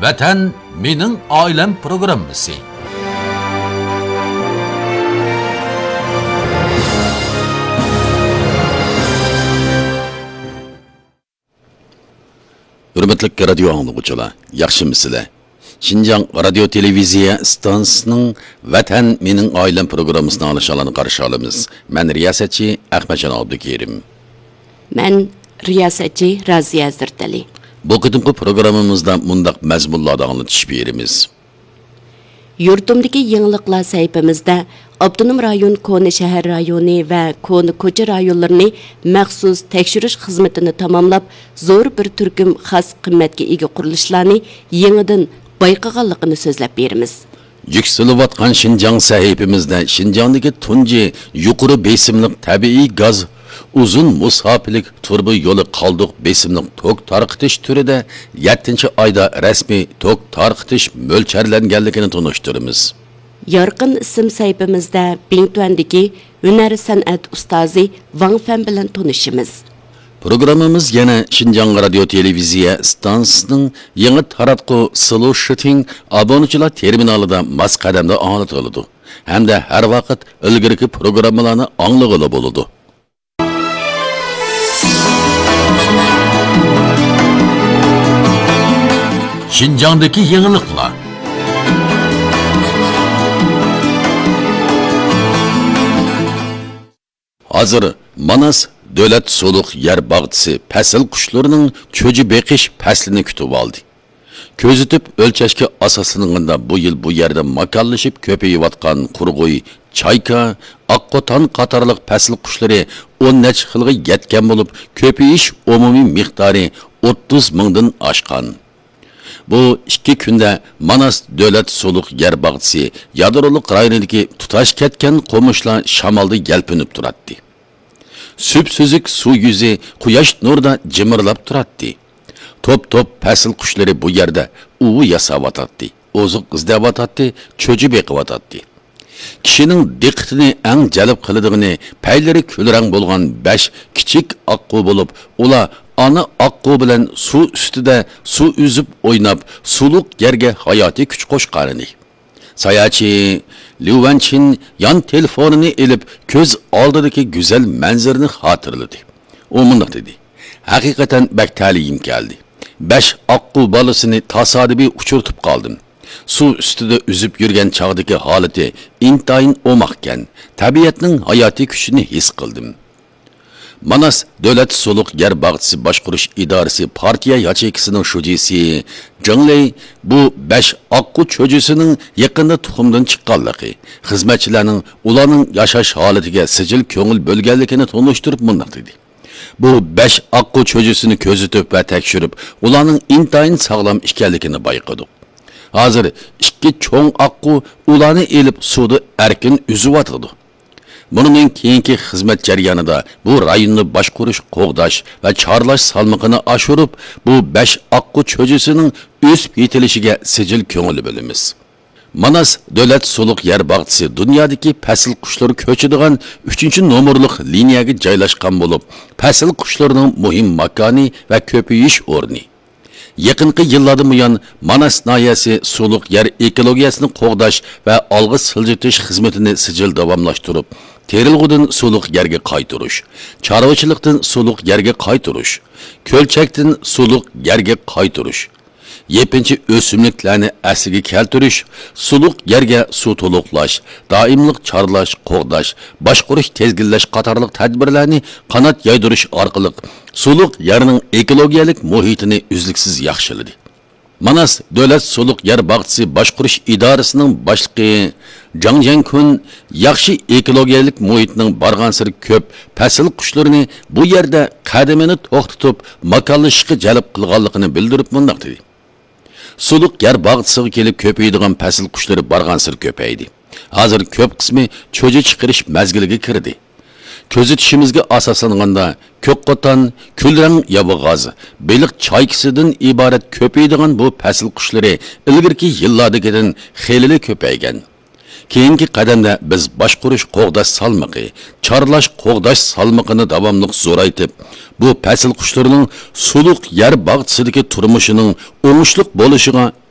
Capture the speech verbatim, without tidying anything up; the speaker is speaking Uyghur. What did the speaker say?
ۋەتەن مېنىڭ ئائىلەم پروگراممىسى. ھۆرمەتلىك رادىيو ئاڭلىغۇچىلار، ياخشىمۇسىلەر؟ شىنجاڭ رادىيو تېلېۋىزىيە ئىستانسىسىنىڭ ۋەتەن مېنىڭ ئائىلەم پروگراممىسىنى ئاڭلىشىڭلارنى قارشى ئالىمىز. مەن رىياسەتچى ئەخمەتجان ئابدۇكېرىم. مەن رىياسەتچى رازىيە ھەزرىتەلى. بۇ قېتىمقى پروگراممىمىزدا مۇنداق مەزمۇنلاردا ئاڭلىتىش بېرىمىز. يۇرتۇمدىكى يېڭىلىقلار سەھىپىمىزدە ئاپتونوم رايون كونا شەھەر رايونى ۋە كونا كوچا رايونلىرىنى مەخسۇس تەكشۈرۈش خىزمىتىنى تاماملاپ، زور بىر تۈركۈم خاس قىممەتكە ئىگە قۇرۇلۇشلارنى يېڭىدىن بايقىغانلىقىنى سۆزلەپ بېرىمىز. يۈكسىلىۋاتقان شىنجاڭ سەھىپىمىزدە شىنجاڭدىكى تۇنجى يۇقىرى بېسىملىق تەبىئىي گاز ئۇزۇن مۇساپىلىك تۇرۇبا يولى قالدۇق بېسىملىق توك تارقىتىش تۈرىدە يەتتىنچى ئايدا رەسمىي توك تارقىتىش مۆلچەرلەنگەنلىكىنى تونۇشتۇرىمىز. يارقىن ئىسىم سەھىپىمىزدە بىڭتۈەندىكى ھۈنەر سەنئەت ئۇستازى ۋاڭ فەن بىلەن تونۇشىمىز. پروگراممىمىز يەنە شىنجاڭ رادىيو تېلېۋىزىيە ئىستانسىسىنىڭ يېڭى تاراتقۇ سلو شىتىڭ ئابۇنىچىلار تېرمىنالىدا ماس قەدەمدە ئاڭلىتىلىدۇ ھەمدە ھەر ۋاقىت ئىلگىرىكى پروگراممىلارنى ئاڭلىغىلى بولىدۇ. شىنجاڭدىكى يېڭىلىقلار. ھازىر ماناس دۆلەت سۇلۇق يەر باغچىسى پەسىل قۇشلىرىنىڭ چۆجە بېقىش پەسلىنى كۈتۈۋالدى. كۆزىتىپ ئۆلچەشكە ئاساسلانغاندا، بۇ يىل بۇ يەردە ماكانلىشىپ كۆپىيىۋاتقان قۇرغۇي، چايكا، ئاققوتان قاتارلىق پەسىل قۇشلىرى ئون نەچچە خىلغا يەتكەن بولۇپ، كۆپىيىش ئومۇمىي مىقدارى ئوتتۇز مىڭدىن ئاشقان. بۇ ئىككى كۈندە ماناس دۆلەت سۇلۇق يەر باغچىسى يادرولۇق رايونىدىكى تۇتاش كەتكەن قومۇشلار شامالدا يەلپۈنۈپ تۇراتتى. سۈپسۈزۈك سۇ يۈزى قۇياش نۇرىدا جىمىرلاپ تۇراتتى. توپ-توپ پەسىل قۇشلىرى بۇ يەردە ئۇۋا ياساۋاتاتتى، ئوزۇق ئىزدەۋاتاتتى، چۆچۈ بېقىۋاتاتتى. كىشىنىڭ دىققىتىنى ئەڭ جەلپ قىلىدىغىنى پەيلىرى كۈلرەڭ بولغان بەش كىچىك ئاققۇ بولۇپ، ئۇلار ئانا ئاققۇ بىلەن سۇ ئۈستىدە سۇ ئۈزۈپ ئويناپ، سۇلۇق يەرگە ھاياتىي كۈچ قوشقانىدى. ساياھەتچى ليۇ ۋەنچىن يان تېلېفونىنى ئېلىپ، كۆز ئالدىدىكى گۈزەل مەنزىرىنى خاتىرىلىدى. ئۇ مۇنداق دېدى، ھەقىقەتەن بەك تەلىيىم كەلدى. بەش ئاققۇ بالىسىنى تاسادىپىي ئۇچرىتىپ قالدىم. سۇ ئۈستىدە ئۈزۈپ يۈرگەن چاغدىكى ھالىتى ئىنتايىن ئوماقكەن، تەبىئەتنىڭ ھاياتىي كۈچىنى ھېس قىلدىم. ماناس دۆلەت سۇلۇق يەر باغچىسى باشقۇرۇش ئىدارىسى پارتىيە ياچېيكىسىنىڭ شۇجىسى جېڭ لېي بۇ بەش ئاققۇ چۆجىسىنىڭ يېقىندا تۇخۇمدىن چىققانلىقى، خىزمەتچىلەرنىڭ ئۇلارنىڭ ياشاش ھالىتىگە سىجىل كۆڭۈل بۆلگەنلىكىنى تونۇشتۇرۇپ مۇنداق دېدى. بۇ بەش ئاققۇ چۆجىسىنى كۆزىتىپ ۋە تەكشۈرۈپ، ئۇلارنىڭ ئىنتايىن ساغلام ئىكەنلىكىنى بايقىدۇق. ھازىر ئىككى چوڭ ئاققۇ ئۇلارنى ئېلىپ سۇدا ئەركىن ئۈزۈۋاتىدۇ. بۇنىڭدىن كېيىنكى خىزمەت جەريانىدا بۇ رايوننى باشقۇرۇش، قوغداش ۋە چارلاش سالمىقىنى ئاشۇرۇپ، بۇ بەش ئاققۇ چۆجىسىنىڭ ئۆسۈپ يېتىلىشىگە سىجىل كۆڭۈل بۆلىمىز. ماناس دۆلەت سۇلۇق يەر باغچىسى دۇنيادىكى پەسىل قۇشلىرى كۆچىدىغان ئۈچىنچى نومۇرلۇق لىنىيەگە جايلاشقان بولۇپ، پەسىل قۇشلىرىنىڭ مۇھىم ماكانى ۋە كۆپىيىش ئورنى. يېقىنقى يىللاردىن بۇيان، ماناس ناھىيەسى سۇلۇق يەر ئېكولوگىيەسىنى قوغداش ۋە ئالغا سىلجىتىش خىزمىتىنى سىجىل داۋاملاشتۇرۇپ، تېرىلغۇدىن سۇلۇق يەرگە قايتۇرۇش، چارۋىچىلىقتىن سۇلۇق يەرگە قايتۇرۇش، كۆلچەكتىن سۇلۇق يەرگە قايتۇرۇش، يېپىنچا ئۆسۈملۈكلەرنى ئەسلىگە كەلتۈرۈش، سۇلۇق يەرگە سۇ تولۇقلاش، دائىملىق چارلاش، قوغداش، باشقۇرۇش، تىزگىنلەش قاتارلىق تەدبىرلەرنى قانات يايدۇرۇش ئارقىلىق سۇلۇق يەرنىڭ ئېكولوگىيەلىك مۇھىتىنى ئۈزلۈكسىز ياخشىلىدى. ماناس دۆلەت سۇلۇق يەر باغچىسى باشقۇرۇش ئىدارىسىنىڭ باشلىقى جاڭ جيەنكۈن ياخشى ئېكولوگىيەلىك مۇھىتنىڭ بارغانسېرى كۆپ پەسىل قۇشلىرىنى بۇ يەردە قەدىمىنى توختىتىپ، ماكانلىشىشقا جەلپ قىلغانلىقىنى بىلدۈرۈپ مۇنداق دېدى. سۇلۇق يەر باغچىسىغا كېلىپ كۆپىيىدىغان پەسىل قۇشلىرى بارغانسېرى كۆپەيدى. ھازىر كۆپ قىسمى چۆجە چىقىرىش مەزگىلىگە كىردى. كۆزىتىشىمىزگە ئاساسلانغاندا، كۆكقوتان، كۈلرەڭ ياۋىغاز، بېلىق چايكىسىدىن ئىبارەت كۆپىيىدىغان بۇ پەسىل قۇشلىرى ئىلگىرىكى يىللاردىكىدىن خېلىلا كۆپەيگەن. كېيىنكى قەدەمدە بىز باشقۇرۇش قوغداش سالمىقى، چارلاش قوغداش سالمىقىنى داۋاملىق زورايتىپ، بۇ پەسىل قۇشلىرىنىڭ سۇلۇق يەر باغچىسىدىكى تۇرمۇشىنىڭ ئوڭۇشلۇق بولۇشىغا